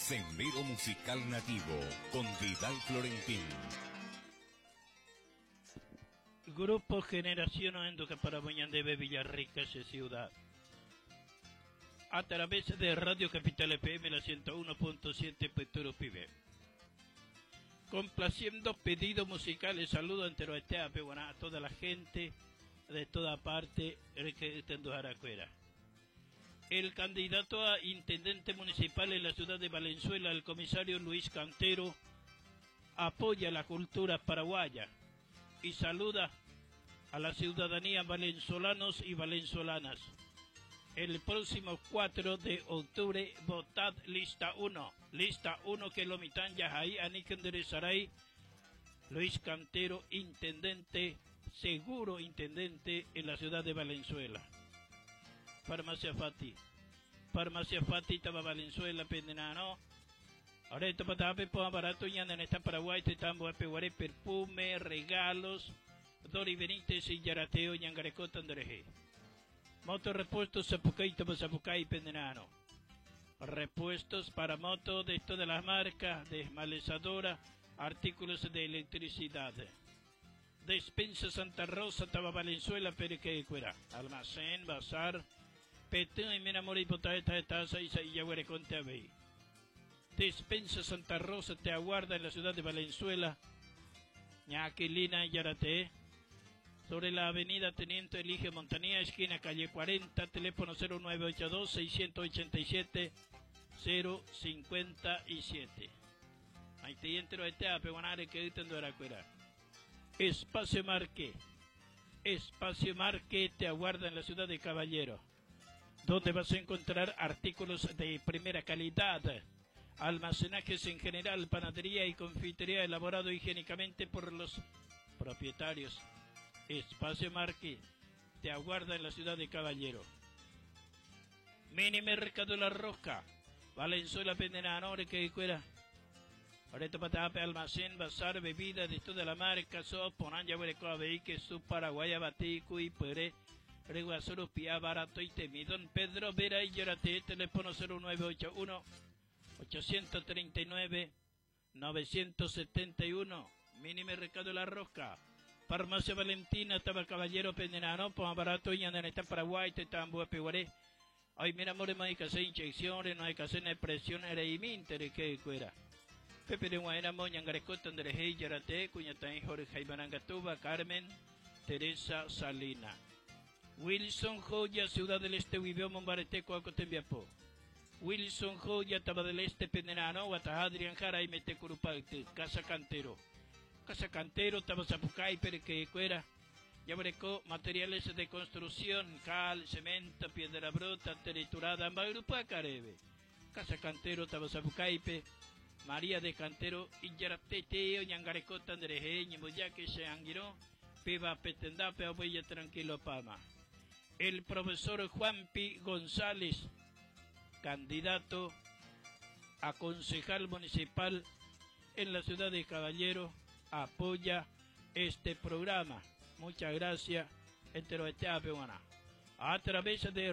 Sendero Musical Nativo con Vidal Florentín. Grupo Generación Oenduca para Debe Villarrica, ciudad. A través de Radio Capital FM, la 101.7 Peturo Pibe. Complaciendo pedidos musicales, saludo entero a toda la gente de toda parte que está El candidato a intendente municipal en la ciudad de Valenzuela, el comisario Luis Cantero, apoya la cultura paraguaya y saluda a la ciudadanía valenzolanos y valenzolanas. El próximo 4 de octubre, votad lista 1. Lista 1 que lo mitan yahay anikenderezaray. Luis Cantero, intendente, seguro intendente en la ciudad de Valenzuela. Farmacia Fati. Farmacia Fati, estaba Valenzuela, Pendenano. Ahora esto para barato y en esta Paraguay, te tambo, perfume, regalos. Dori Benítez y Yarateo, Ñangarecota, Andreje. Motorrepuestos Zapucay, Zapucay, Pendenano. Repuestos para moto de todas las marcas, desmalezadora, artículos de electricidad. Despensa Santa Rosa, Taba Valenzuela, Perequecuera. Almacén, bazar, Petén y Menamor y Potaeta de Taza y Conte Despensa Santa Rosa te aguarda en la ciudad de Valenzuela. Ñaquilina y Yarate. Sobre la avenida Teniente Eligio Montanía, esquina calle 40, teléfono 0982 687 057. Ahí te entero este que Espacio Marque. Espacio Marque te aguarda en la ciudad de Caballero, donde vas a encontrar artículos de primera calidad, almacenajes en general, panadería y confitería elaborado higiénicamente por los propietarios. Espacio Marque te aguarda en la ciudad de Caballero. Mini Mercado La Rosca, Valenzuela Pendenanore que cuera. Ahorita patape almacén, bazar, bebida de toda la marca, so, ponanja, que su paraguaya, batico y pere, reguazoro, pia, barato y temido. Pedro Vera y Llorate, teléfono 0981 839 971, Mini Mercado La Rosca. Farmacia Valentina, estaba Caballero Pendenano, pues barato y andan en Paraguay, te tambo, peguaré. Ay, mira, more, no hay que hacer inyecciones, no hay que hacer presión, era y mintere, que cuera. Pepe de Guaera, Moñangarecota, Andrejei, Yarate, Cuñatán, Jorge Ibarangatuba, Carmen, Teresa Salina. Wilson Joya, Ciudad del Este, Huibeo, Mombarete, Coacotembiapo. Wilson Joya, Taba del Este, Pendenano, Adrián Jara y Metecurupacte, Casa Cantero. Casa Cantero, Tabazapucay, Perequecuera. Yabreco, materiales de construcción, cal, cemento, piedra bruta, triturada, Ambagrupa, Carebe. Casa Cantero, Tabazapucaipe, María de Cantero, Iyaratete, Ñangarecota, Andreje, Ñemboyaque, Seanguiró, Piba Petendape, Abuella Tranquilo Pama. El profesor Juan Pi González, candidato a concejal municipal en la ciudad de Caballero, apoya este programa. Muchas gracias. A través de